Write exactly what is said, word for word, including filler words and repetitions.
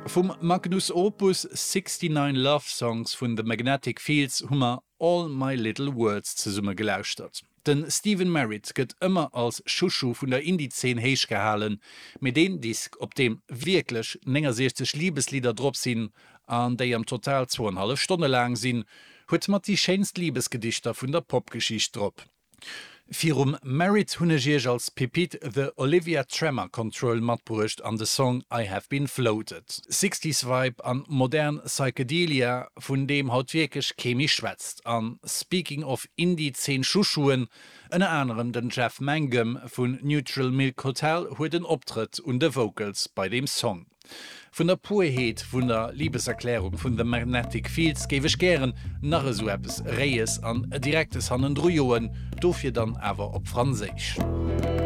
Vum Magnus Opus sixty-nine Love Songs vun The Magnetic Fields hu mer All My Little Words zesumme gelauschtert. Den Stephin Merritt gëtt ëmmer als Chouchou vun der Indie-Zeen héich gehalen, mee deen Disk, op deem wierklech néngasiechzeg Liebeslieder drop sinn an déi am Total zwou an hallef Stonne laang sinn, huet mat déi schéinst Liebesgedichter vun der Popgeschicht drop. Virum Merritt hunn ech iech als Pepite The Olivia Tremor Control matbruecht an de Song I Have Been Floated. Sixties Vibe an modern Psychedelia, vun deem haut wierklech kee méi schwätzt. An speaking of Indie-Zeen Chouchouen, ënner anerem den Jeff Mangum vun Neutral Milk Hotel huet en Optrëtt un de Vocals bei deem Song. Vun der Purheet vun der Liebeserklärung vun The Magnetic Fields géif ech gären nach esou eppes Réies an Direktes hannendru joen, dofir dann awer op Franséisch.